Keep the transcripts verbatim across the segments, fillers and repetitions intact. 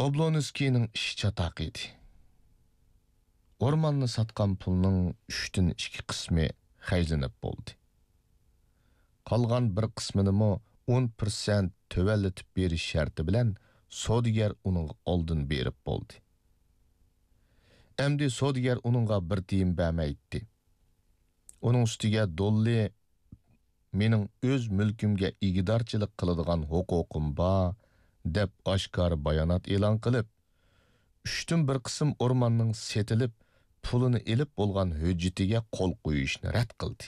ئوبلونسكىينىڭ ئىشى چاتاق ئىدى. ئورماننى ساتقان پۇلنىڭ ئۈچتىن ئىككى قىسمى خەجلىنىپ بولدى. قالغان بىر قىسمىنىمۇ ئون پىرسەنت تۆۋەنلىتىپ بېرىش شەرتى بىلەن سودىگەر ئۇنىڭغا ئالدىن بېرىپ بولدى. ئەمدى سودىگەر ئۇنىڭغا بىر تىيىن بەرمەيتتى. ئۇنىڭ ئۈستىگە دوللى «مېنىڭ ئۆز مۈلكۈمگە ئىگىدارچىلىق قىلىدىغان ھوقۇقۇم بار» دەپ ئاشكارا بايانات ئېلان قىلىپ، ئۈچتىن بىر قىسىم ئورماننىڭ سېتىلىپ، پۇلىنى ئېلىپ بولغان ھۆججىتىگە قول قويۇشنى رەت قىلدى.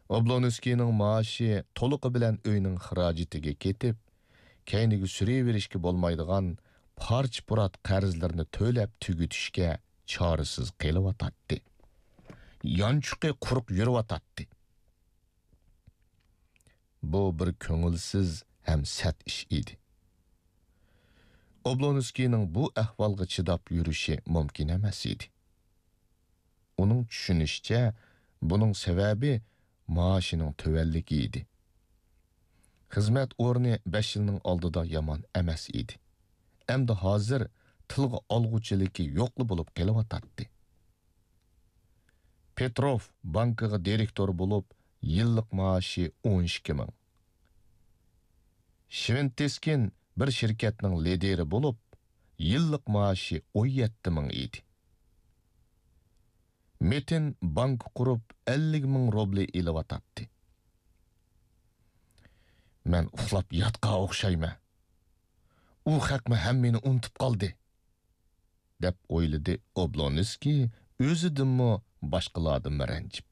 ئوبلونسكىينىڭ مائاشى تولۇقى بىلەن ئۆينىڭ خىراجىتىگە كېتىپ، كەينىگە سۈرۈۋېرىشكە بولمايدىغان پارچە-پۇرات قەرزلىرىنى تۆلەپ تۈگىتىشكە چارىسىز قېلىۋاتاتتى. يانچۇقى قۇرۇق يۈرۈۋاتاتتى. بۇ بىر كۆڭۈلسىز ھەم سەت ئىش ئىدى. ئوبلونسكىينىڭ بۇ ئەھۋالغا چىداپ يۈرۈشى مۇمكىن ئەمەس ئىدى. ئۇنىڭ چۈشىنىشىچە، بۇنىڭ سەۋەبى مائاشىنىڭ تۆۋەنلىكى ئىدى. خىزمەت ئورنى بەش يىلنىڭ ئالدىدا يامان ئەمەس ئىدى. ئەمدى ھازىر تىلغا ئالغۇچىلىكى يوقلا بولۇپ قېلىۋاتاتتى. پېتروف بانكىغا دىرېكتور بولۇپ، يىللىق مائاشى ئون ئىككى مىڭ. شۋېنتېسكىن بىر شىركەتنىڭ لىدىرى بولۇپ، يىللىق مائاشى ئون يەتتە مىڭ ئىدى. مېتىن بانكا قۇرۇپ، ئەللىك مىڭ روبلى ئېلىۋاتاتتى. «مەن ئۇخلاپ ياتقان ئوخشايمەن. ئۇ خەقمۇ ھەممىنى ئۇنتۇپ قالدى» دەپ ئويلىدى ئوبلونسكىي، ئۆزىدىنمۇ، باشقىلاردىنمۇ رەنجىپ.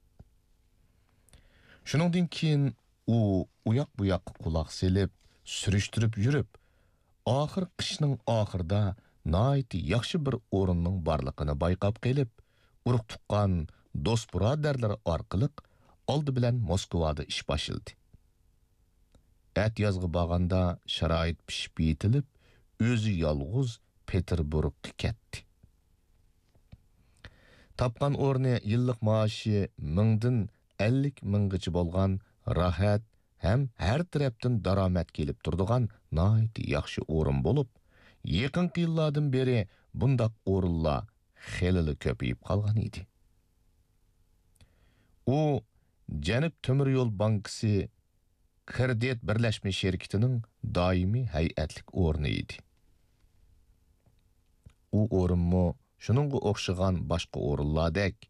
شۇنىڭدىن كېيىن ئۇ ئۇياق-بۇياققا قۇلاق سېلىپ، سۈرۈشتۈرۈپ يۈرۈپ، ئاخىر قىشنىڭ ئاخىرىدا ناھايىتى ياخشى بىر ئورۇننىڭ بارلىقىنى بايقاپ قېلىپ، ئۇرۇق-تۇغقان، دوست-بۇرادەرلىرى ئارقىلىق ئالدى بىلەن موسكۋادا ئىش باشلىدى. ئەتىيازغا بارغاندا شارائىت پىشىپ يېتىلىپ، ئۆزى يالغۇز پېتېربۇرگقا كەتتى. تاپقان ئورنى يىللىق مائاشى مىڭدىن ئەللىك مىڭغىچە بولغان راھەت ھەم ھەر تەرەپتىن دارامەت كېلىپ تۇرىدىغان ناھايىتى ياخشى ئورۇن بولۇپ، يېقىنقى يىللاردىن بېرى بۇنداق ئورۇنلار خېلىلا كۆپىيىپ قالغان ئىدى. ئۇ جەنۇب تۆمۈر يول بانكىسى كىرېدىت بىرلەشمە شىركىتىنىڭ دائىمىي ھەيئەتلىك ئورنى ئىدى. ئۇ ئورۇنمۇ شۇنىڭغا ئوخشىغان باشقا ئورۇنلاردەك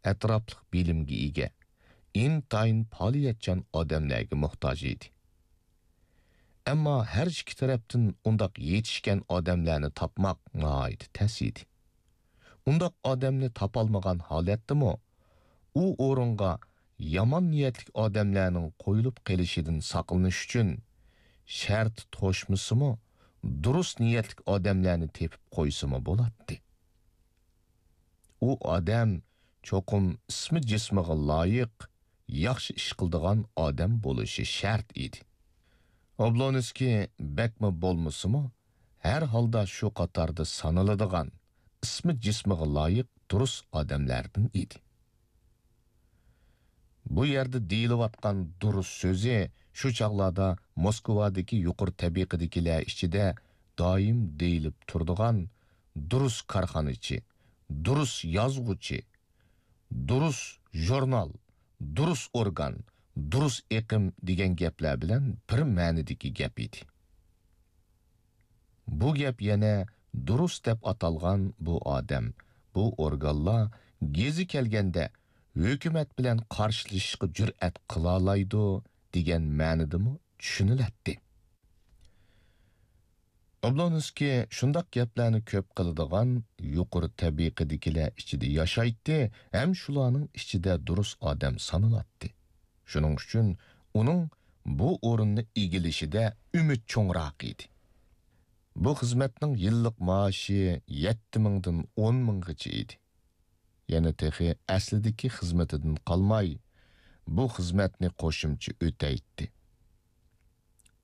ئەتراپلىق بىلىمگە ئىگە، ئىنتايىن پائالىيەتچان ئادەملەرگە موھتاج ئىدى. ئەمما ھەر ئىككى تەرەپتىن ئۇنداق يېتىشكەن ئادەملەرنى تاپماق ناھايىتى تەس ئىدى. ئۇنداق ئادەمنى تاپالمىغان ھالەتتىمۇ، ئۇ ئورۇنغا يامان نىيەتلىك ئادەملەرنىڭ قويۇلۇپ قېلىشىدىن ساقلىنىش ئۈچۈن، شەرتى توشمىسىمۇ، دۇرۇس نىيەتلىك ئادەملەرنى تېپىپ قويسىمۇ بولاتتى. ئۇ ئادەم چوقۇم ئىسمى جىسمىغا لايىق، ياخشى ئىش قىلىدىغان ئادەم بولۇشى شەرت ئىدى. ئوبلونسكىي بەكمۇ بولمىسىمۇ، ھەر ھالدا شۇ قاتاردا سانىلىدىغان، ئىسمى جىسمىغا لايىق دۇرۇس ئادەملەردىن ئىدى. بۇ يەردە دېيىلىۋاتقان دۇرۇس سۆزى شۇ چاغلاردا موسكۋادىكى يۇقىرى تەبىقىدىكىلەر ئىچىدە دائىم دېيىلىپ تۇرىدىغان دۇرۇس كارخانىچى، دۇرۇس يازغۇچى، دۇرۇس ژۇرنال، دۇرۇس ئورگان، دۇرۇس ئېقىم دېگەن گەپلەر بىلەن بىر مەنىدىكى گەپ ئىدى. بۇ گەپ يەنە دۇرۇس دەپ ئاتالغان بۇ ئادەم، بۇ ئورگانلار گېزى كەلگەندە ھۆكۈمەت بىلەن قارشىلىشىشقا جۈرئەت قىلالايدۇ دېگەن مەنىدىمۇ چۈشىنىلەتتى. ئوبلونسكىي شۇنداق گەپلەرنى كۆپ قىلىدىغان يۇقىرى تەبىقىدىكىلەر ئىچىدە ياشايتتى ھەم شۇلارنىڭ ئىچىدە دۇرۇس ئادەم سانىلاتتى. شۇنىڭ ئۈچۈن ئۇنىڭ بۇ ئورۇننى ئىگىلىشىدە ئۈمىد چوڭراق ئىدى. بۇ خىزمەتنىڭ يىللىق مائاشى يەتتە مىڭدىن ئون مىڭغىچە ئىدى. يەنە تېخى ئەسلىدىكى خىزمىتىدىن قالماي، بۇ خىزمەتنى قوشۇمچە ئۆتەيتتى.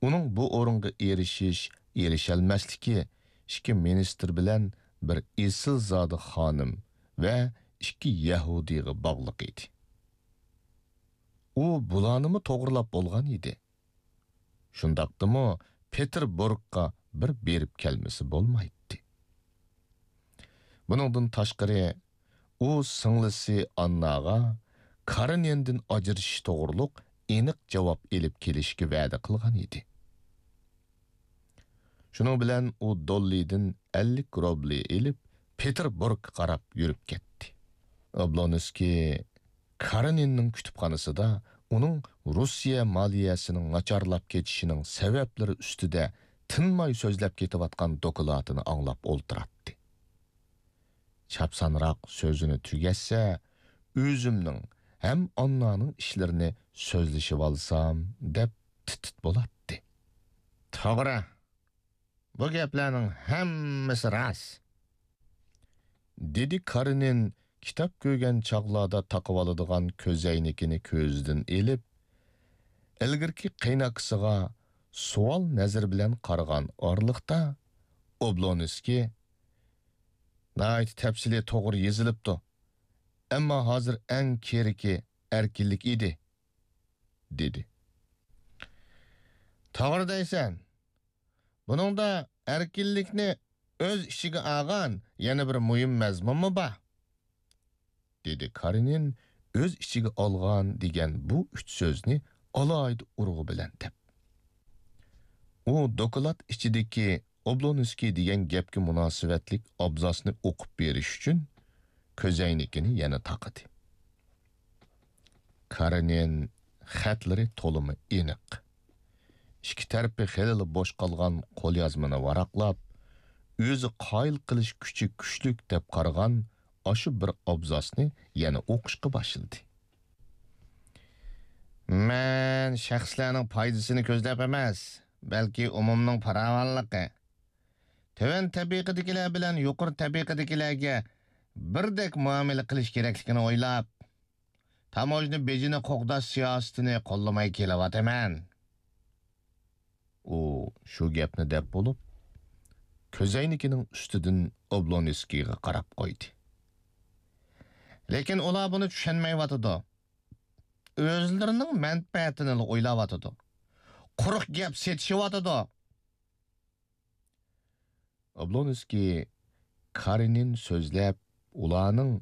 ئۇنىڭ بۇ ئورۇنغا ئېرىشىش، ئېرىشەلمەسلىكى ئىككى مىنىستىر بىلەن بىر ئېسىلزادە خانىم ۋە ئىككى يەھۇدىيغا باغلىق ئىدى. ئۇ بۇلارنىمۇ توغرىلاپ بولغان ئىدى. شۇنداقتىمۇ پېتېربۇرگقا بىر بېرىپ كەلمىسى بولمايتتى. بۇنىڭدىن تاشقىرى، ئۇ سىڭلىسى ئانناغا كارېنىندىن ئاجرىشىش توغرۇلۇق ئېنىق جاۋاب ئېلىپ كېلىشكە ۋەدە قىلغان ئىدى. شۇنىڭ بىلەن ئۇ دوللىدىن ئەللىك روبلى ئېلىپ، پېتېربۇرگقا قاراپ يۈرۈپ كەتتى. ئوبلونسكىي كارېنىننىڭ كۇتۇپخانىسىدا ئۇنىڭ روسىيە مالىيەسىنىڭ ناچارلاپ كېتىشىنىڭ سەۋەبلىرى ئۈستىدە تىنماي سۆزلەپ كېتىۋاتقان دوكلاتىنى ئاڭلاپ ئولتۇراتتى. چاپسانراق سۆزىنى تۈگەتسە، ئۆزۈمنىڭ ھەم ئاننانىڭ ئىشلىرىنى سۆزلىشىۋالسام، دەپ تىت-تىت بولاتتى. توغرا، بۇ گەپلەرنىڭ ھەممىسى راست، دېدى كارېنىن كىتاب كۆرگەن چاغلاردا تاقىۋالىدىغان كۆزەينىكىنى كۆزىدىن ئېلىپ، ئىلگىرىكى قېيىنئاكىسىغا سوئال نەزىرى بىلەن قارىغان ئارىلىقتا، ئوبلونسكىي، ناھايىتى تەپسىلىي توغرا يېزىلىپتۇ، ئەمما ھازىر ئەڭ كېرىكى ئەركىنلىك ئىدى، دېدى. توغرا دەيسەن. بۇنىڭدا ئەركىنلىكنى ئۆز ئىچىگە ئالغان يەنە بىر مۇھىم مەزمۇنمۇ بار، دېدى كارېنىن ئۆز ئىچىگە ئالغان دېگەن بۇ ئۈچ سۆزنى ئالاھىدە ئۇرغۇ بىلەن دەپ. ئۇ دوكلات ئىچىدىكى ئوبلونسكىي دېگەن گەپكە مۇناسىۋەتلىك ئابزاسنى ئوقۇپ بېرىش ئۈچۈن كۆزەينىكىنى يەنە تاقىدى. كارېنىن خەتلىرى تولىمۇ ئېنىق. ئىككى تەرىپى خېلىلا بوش قالغان قوليازمىنى ۋاراقلاپ، ئۆزى قايىل قىلىش كۈچى كۈچلۈك دەپ قارىغان ئاشۇ بىر ئابزاسنى يەنە ئوقۇشقا باشلىدى. مەن شەخسلەرنىڭ پايدىسىنى كۆزلەپ ئەمەس، بەلكى ئومۇمنىڭ پاراۋانلىقى، تۆۋەن تەبىقىدىكىلەر بىلەن يۇقىرى تەبىقىدىكىلەرگە بىردەك مۇئامىلە قىلىش كېرەكلىكىنى ئويلاپ، تاموژنا بېجىنى قوغداش سىياسىتىنى قوللىماي كېلىۋاتىمەن. ئۇ شۇ گەپنى دەپ بولۇپ، كۆزەينىكىنىڭ ئۈستىدىن ئوبلونسكىيغا قاراپ قويدى. لېكىن ئۇلار بۇنى چۈشەنمەيۋاتىدۇ. ئۆزلىرىنىڭ مەنپەئەتىنىلا ئويلاۋاتىدۇ. قۇرۇق گەپ سېتىشىۋاتىدۇ. ئوبلونسكىي كارېنىن سۆزلەپ، ئۇلارنىڭ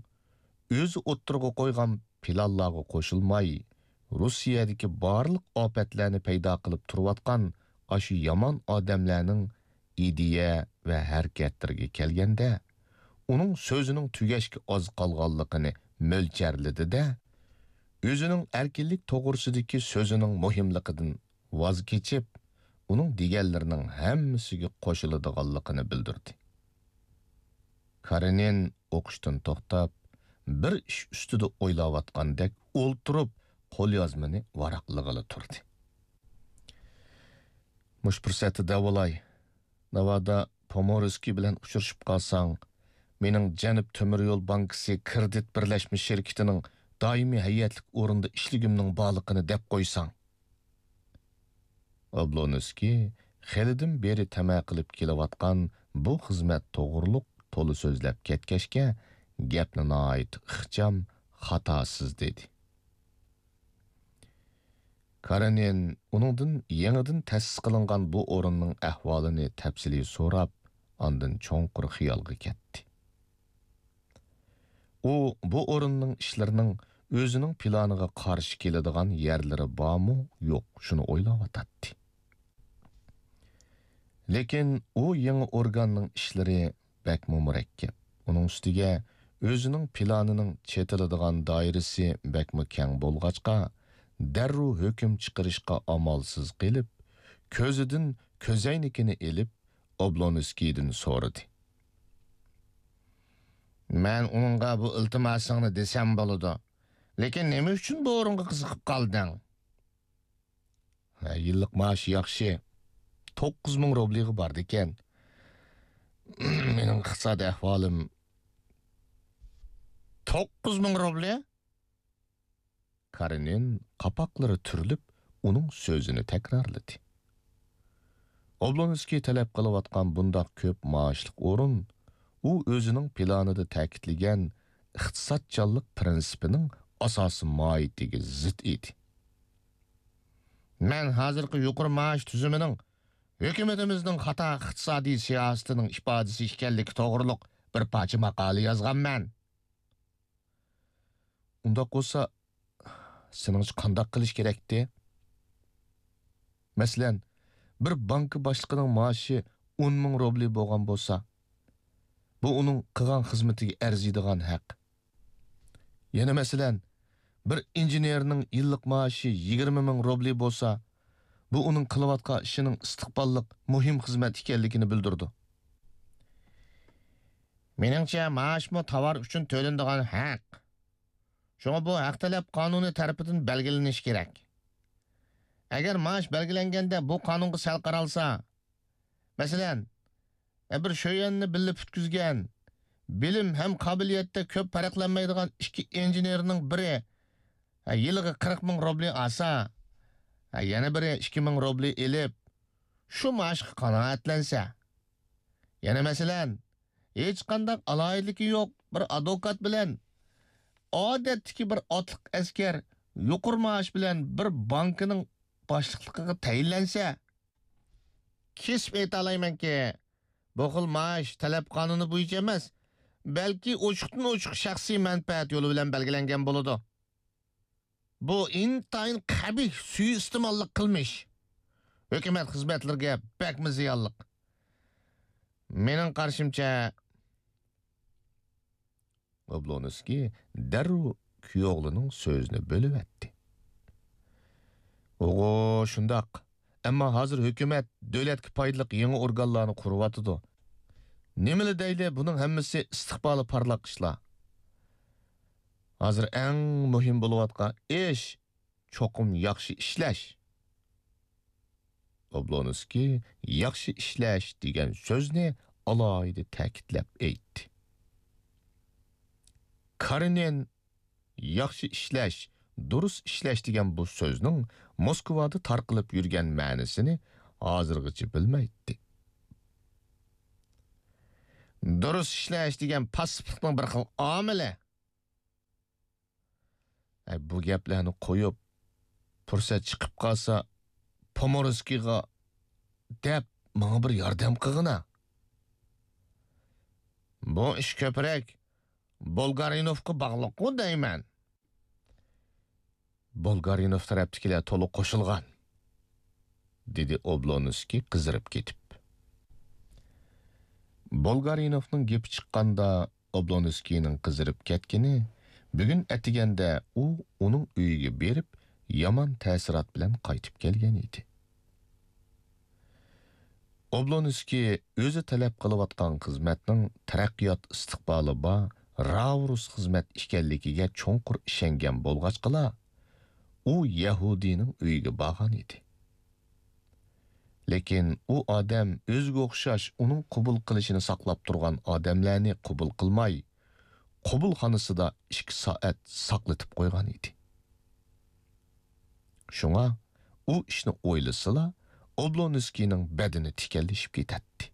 ئۆزى ئوتتۇرىغا قويغان پىلانلارغا قوشۇلماي، روسىيەدىكى بارلىق ئاپەتلەرنى پەيدا قىلىپ تۇرۇۋاتقان ئاشۇ يامان ئادەملەرنىڭ ئىدىيە ۋە ھەرىكەتلىرىگە كەلگەندە، ئۇنىڭ سۆزىنىڭ تۈگەشكە ئاز قالغانلىقىنى مۆلچەرلىدى-دە، ئۆزىنىڭ ئەركىنلىك توغرىسىدىكى سۆزىنىڭ مۇھىملىقىدىن ۋاز كېچىپ، ئۇنىڭ دېگەنلىرىنىڭ ھەممىسىگە قوشۇلىدىغانلىقىنى بىلدۈردى. كارېنىن ئوقۇشتىن توختاپ، بىر ئىش ئۈستىدە ئويلاۋاتقاندەك ئولتۇرۇپ، قوليازمىنى ۋاراقلىغىلى تۇردى. مۇشۇ پۇرسەتتە دەۋالاي، ناۋادا پومورسكىي بىلەن ئۇچرىشىپ قالساڭ، مېنىڭ جەنۇب تۆمۈر يول بانكىسى كىرېدىت بىرلەشمە شىركىتىنىڭ دائىمىي ھەيئەتلىك ئورنىدا ئىشلىگۈمنىڭ بارلىقىنى دەپ قويساڭ. ئوبلونسكىي خېلىدىن بېرى تەمە قىلىپ كېلىۋاتقان بۇ خىزمەت توغرۇلۇق تولا سۆزلەپ كەتكەچكە، گەپنى ناھايىتى ئىخچام، خاتاسىز دېدى. كارېنىن ئۇنىڭدىن يېڭىدىن تەسىس قىلىنغان بۇ ئورۇننىڭ ئەھۋالىنى تەپسىلىي سوراپ، ئاندىن چوڭقۇر خىيالغا كەتتى. ئۇ بۇ ئورۇننىڭ ئىشلىرىنىڭ ئۆزىنىڭ پىلانىغا قارشى كېلىدىغان يەرلىرى بارمۇ، يوق، شۇنى ئويلاۋاتاتتى. لېكىن ئۇ يېڭى ئورگاننىڭ ئىشلىرى بەكمۇ مۇرەككەپ. ئۇنىڭ ئۈستىگە ئۆزىنىڭ پىلانىنىڭ چېتىلىدىغان دائىرىسى بەكمۇ كەڭ بولغاچقا، دەررۇ ھۆكۈم چىقىرىشقا ئامالسىز قېلىپ، كۆزىدىن كۆزەينىكىنى ئېلىپ، ئوبلونسكىيدىن سورىدى. مەن ئۇنىڭغا بۇ ئىلتىماسىڭنى دېسەم بولىدۇ. لېكىن نېمە ئۈچۈن بۇ ئورۇنغا قىزىقىپ قالدىڭ؟ ھە، يىللىق مائاشى ياخشى. توققۇز مىڭ روبلىغا بارىدىكەن. مېنىڭ ئىقتىسادىي ئەھۋالىم. توققۇز مىڭ روبلى؟ كارېنىن قاپاقلىرى تۈرۈلۈپ، ئۇنىڭ سۆزىنى تەكرارلىدى. ئوبلونسكىي تەلەپ قىلىۋاتقان بۇنداق كۆپ مائاشلىق ئورۇن، ئۇ ئۆزىنىڭ پىلانىدا تەكىتلىگەن ئىقتىسادچانلىق پىرىنسىپىنىڭ ئاساسىي ماھىيىتىگە زىت ئىدى. مەن ھازىرقى يۇقىرى مائاش تۈزۈمىنىڭ ھۆكۈمىتىمىزنىڭ خاتا ئىقتىسادىي سىياسىتىنىڭ ئىپادىسى ئىكەنلىكى توغرۇلۇق بىر پارچە ماقالە يازغانمەن. ئۇنداق بولسا، سېنىڭچە قانداق قىلىش كېرەكتى؟ مەسىلەن، بىر بانكا باشلىقىنىڭ مائاشى ئون مىڭ روبلى بولغان بولسا، بۇ ئۇنىڭ قىلغان خىزمىتىگە ئەرزىيدىغان ھەق. يەنە مەسىلەن، بىر ئىنژېنېرنىڭ يىللىق مائاشى يىگىرمە مىڭ روبلى بولسا، بۇ ئۇنىڭ قىلىۋاتقان ئىشىنىڭ ئىستىقباللىق مۇھىم خىزمەت ئىكەنلىكىنى بىلدۈرىدۇ. مېنىڭچە، مائاشمۇ تاۋار ئۈچۈن تۆلىنىدىغان ھەق. شۇڭا بۇ ھەق تەلەپ قانۇنى تەرىپىدىن بەلگىلىنىشى كېرەك. ئەگەر مائاش بەلگىلەنگەندە بۇ قانۇنغا سەل قارالسا، مەسىلەن، بىر شۆيۈەننى بىللە پۈتكۈزگەن، بىلىم ھەم قابىلىيەتتە كۆپ پەرقلەنمەيدىغان ئىككى ئىنژېنېرنىڭ بىرى يىلىغا قىرىق مىڭ روبلى ئالسا، يەنە بىرى ئىككى مىڭ روبلى ئېلىپ، شۇ مائاشقا قانائەتلەنسە. يەنە مەسىلەن، ھېچقانداق ئالاھىدىلىكى يوق بىر ئادۋوكات بىلەن ئادەتتىكى بىر ئاتلىق ئەسكەر يۇقىرى مائاش بىلەن بىر بانكىنىڭ باشلىقلىقىغا تەيىنلەنسە، كېسىپ ئېيتالايمەنكى، بۇ خىل مائاش تەلەپ قانۇنى بويىچە ئەمەس، بەلكى ئوچۇقتىن ئوچۇق شەخسىي مەنپەئەت يولى بىلەن بەلگىلەنگەن بولىدۇ. بۇ ئىنتايىن قەبىھ سۇيىئىستېماللىق قىلمىش. ھۆكۈمەت خىزمەتلىرىگە بەكمۇ زىيانلىق. مېنىڭ قارىشىمچە. ئوبلونسكىي دەررۇ كۈيئوغلىنىڭ سۆزىنى بۆلۈۋەتتى. ئوغۇ، شۇنداق. ئەمما ھازىر ھۆكۈمەت دۆلەتكە پايدىلىق يېڭى ئورگانلارنى قۇرۇۋاتىدۇ. نېمىلا دەيلى، بۇنىڭ ھەممىسى ئىستىقبالى پارلاق ئىشلار. ھازىر ئەڭ مۇھىم بولۇۋاتقان ئىش چوقۇم ياخشى ئىشلەش. ئوبلونسكىي ياخشى ئىشلەش دېگەن سۆزنى ئالاھىدە تەكىتلەپ ئېيتتى. كارېنىن ياخشى ئىشلەش، دۇرۇس ئىشلەش دېگەن بۇ سۆزنىڭ موسكۋادا تارقىلىپ يۈرگەن مەنىسىنى ھازىرغىچە بىلمەيتتى. دۇرۇس ئىشلەش دېگەن پاسسىپلىقنىڭ بىر خىل ئامىلى. ئەي، بۇ گەپلەرنى قويۇپ، پۇرسەت چىقىپ قالسا، پومورسكىيغا دەپ ماڭا بىر ياردەم قىلغىنا. بۇ ئىش كۆپرەك بولگارىنوفقا باغلىققۇ دەيمەن. بولگارىنوف تەرەپتىكىلەر تولۇق قوشۇلغان، دېدى ئوبلونسكىي قىزىرىپ كېتىپ. بولگارىنوفنىڭ گېپى چىققاندا، ئوبلونسكىينىڭ قىزىرىپ كەتكىنى، بۈگۈن ئەتىگەندە ئۇ ئۇنىڭ ئۆيىگە بېرىپ، يامان تەسىرات بىلەن قايتىپ كەلگەن ئىدى. ئوبلونسكىي ئۆزى تەلەپ قىلىۋاتقان خىزمەتنىڭ تەرەققىيات ئىستىقبالى بار، راۋۇرۇس خىزمەت ئىكەنلىكىگە چوڭقۇر ئىشەنگەن بولغاچقىلا، ئۇ يەھۇدىينىڭ ئۆيىگە بارغان ئىدى. لېكىن ئۇ ئادەم ئۆزىگە ئوخشاش ئۇنىڭ قوبۇل قىلىشىنى ساقلاپ تۇرغان ئادەملەرنى قوبۇل قىلماي، قوبۇلخانىسىدا ئىككى سائەت ساقلىتىپ قويغان ئىدى. شۇڭا ئۇ ئىشنى ئويلىسىلا، ئوبلونسكىينىڭ بەدىنى تىكەنلىشىپ كېتەتتى.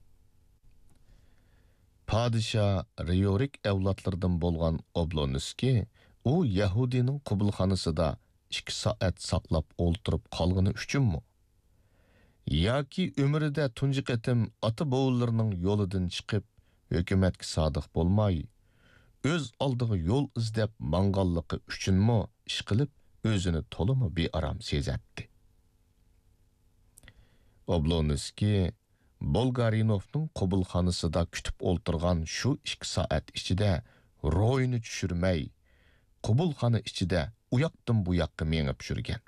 پادىشاھ رىيورىك ئەۋلادلىرىدىن بولغان ئوبلونسكىي ئۇ يەھۇدىينىڭ قوبۇلخانىسىدا ئىككى سائەت ساقلاپ ئولتۇرۇپ قالغىنى ئۈچۈنمۇ؟ ياكى ئۆمرىدە تۇنجى قېتىم ئاتا-بوۋىلىرىنىڭ يولىدىن چىقىپ، ھۆكۈمەتكە سادىق بولماي، ئۆز ئالدىغا يول ئىزدەپ ماڭغانلىقى ئۈچۈنمۇ ئىشقىلىپ ئۆزىنى تولىمۇ بىئارام سېزەتتى. ئوبلونسكىي بولگارىنوفنىڭ قوبۇلخانىسىدا كۈتۈپ ئولتۇرغان شۇ ئىككى سائەت ئىچىدە روھىنى چۈشۈرمەي، قوبۇلخانا ئىچىدە ئۇياقتىن بۇياققا مېڭىپ يۈرگەن.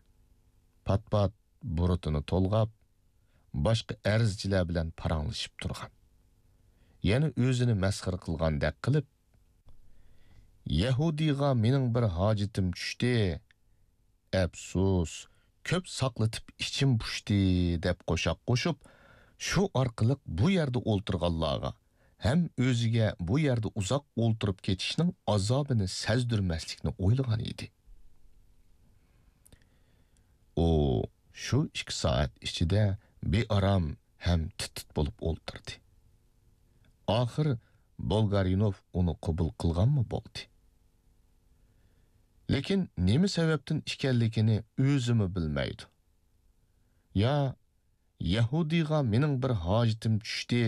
پات-پات بۇرۇتىنى تولغاپ، باشقا ئەرزچىلەر بىلەن پاراڭلىشىپ تۇرغان. يەنە ئۆزىنى مەسخىرە قىلغاندەك قىلىپ، «يەھۇدىيغا مېنىڭ بىر ھاجىتىم چۈشتى. ئەپسۇس، كۆپ ساقلىتىپ ئىچىم پۇشتى» دەپ قوشاق قوشۇپ، شۇ ئارقىلىق بۇ يەردە ئولتۇرغانلارغا ھەم ئۆزىگە بۇ يەردە ئۇزاق ئولتۇرۇپ كېتىشنىڭ ئازابىنى سەزدۈرمەسلىكنى ئويلىغان ئىدى. ئۇ شۇ ئىككى سائەت ئىچىدە بىئارام ھەم تىت-تىت بولۇپ ئولتۇردى. ئاخىر بولگارىنوف ئۇنى قوبۇل قىلغانمۇ بولدى. لېكىن نېمە سەۋەبتىن ئىكەنلىكىنى ئۆزىمۇ بىلمەيدۇ. يا «يەھۇدىيغا مېنىڭ بىر ھاجىتىم چۈشتى،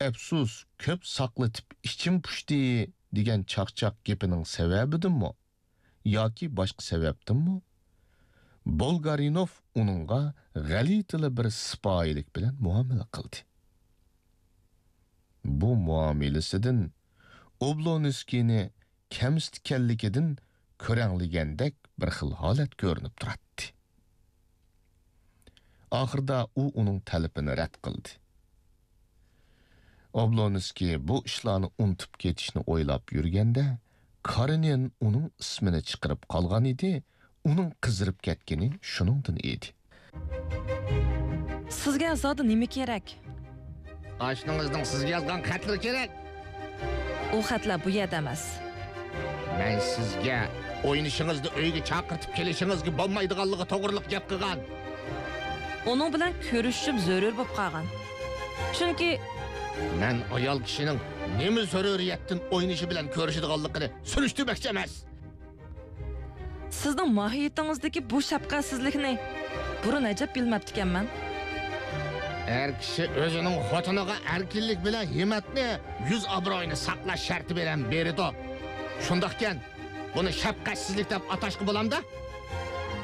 ئەپسۇس، كۆپ ساقلىتىپ ئىچىم پۇشتى» دېگەن چاقچاق گېپىنىڭ سەۋەبىدىنمۇ ياكى باشقا سەۋەبتىنمۇ، بولگارىنوف ئۇنىڭغا غەلىتىلا بىر سىپايىلىك بىلەن مۇئامىلە قىلدى. بۇ مۇئامىلىسىدىن ئوبلونسكىينى كەمسىتكەنلىكىدىن كۆرەڭلىگەندەك بىر خىل ھالەت كۆرۈنۈپ تۇراتتى. ئاخىرىدا ئۇ ئۇنىڭ تەلىپىنى رەت قىلدى. ئوبلونسكىي بۇ ئىشلارنى ئۇنتۇپ كېتىشنى ئويلاپ يۈرگەندە، كارېنىن ئۇنىڭ ئىسمىنى چىقىرىپ قالغان ئىدى، ئۇنىڭ قىزىرىپ كەتكىنى شۇنىڭدىن ئىدى. سىزگە زادى نېمە كېرەك؟ ئاشنىڭىزنىڭ سىزگە يازغان خەتلىرى كېرەك. ئۇ خەتلەر بۇ يەردە ئەمەس. مەن سىزگە ئوينىشىڭىزنى ئۆيگە چاقىرتىپ كېلىشىڭىزگە بولمايدىغانلىقى توغرىلىق گەپ قىلغان. ئۇنىڭ بىلەن كۆرۈشۈشۈم زۆرۈر بولۇپ قالغان. چۈنكى مەن ئايال كىشىنىڭ نېمە زۆرۈرىيەتتىن ئوينىشى بىلەن كۆرۈشىدىغانلىقىنى سۈرۈشتۈرمەكچى ئەمەس. سىزنىڭ ماھىيىتىڭىزدىكى بۇ شەپقەتسىزلىكنى بۇرۇن ئەجەب بىلمەپتىكەنمەن. ئەر كىشى ئۆزىنىڭ خوتۇنىغا ئەركىنلىك بىلەن ھىممەتنى، يۈز ئابرۇيىنى ساقلاش شەرتى بىلەن بېرىدۇ. شۇنداقكەن، بۇنى شەپقەتسىزلىك دەپ ئاتاشقا بولامدا؟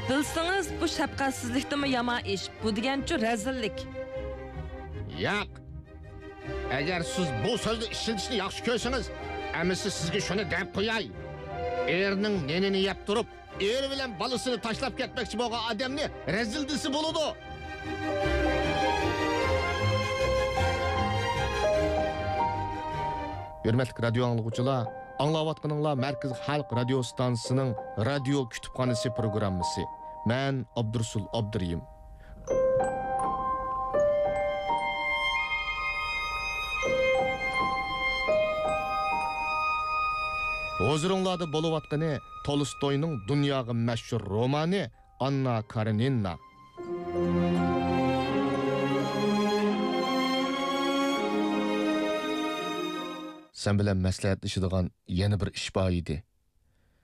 بىلسىڭىز، بۇ شەپقەتسىزلىكتىنمۇ يامان ئىش. بۇ دېگەنچۇ رەزىللىك. ياق. ئەگەر سىز بۇ سۆزنى ئىشلىتىشنى ياخشى كۆرسىڭىز، ئەمىسە سىزگە شۇنى دەپ قوياي. ئېرىنىڭ نېنىنى يەپ تۇرۇپ، ئېرى بىلەن بالىسىنى تاشلاپ كەتمەكچى بولغان ئادەمنى رەزىل دېسە بولىدۇ. ھۆرمەتلىك رادىيو ئاڭلىغۇچىلار، ئاڭلاۋاتقىنىڭلار مەركىزىي خەلق رادىيو ستانسىسىنىڭ رادىيو كۇتۇپخانىسى پروگراممىسى. مەن ئابدۇرۇسۇل ئابدۇرېھىم. ھۇزۇرۇڭلاردا بولۇۋاتقىنى تولستوينىڭ دۇنياغا مەشھۇر رومانى ئاننا كارېنىنا. سەن بىلەن مەسلىھەتلىشىدىغان يەنە بىر ئىش بار ئىدى.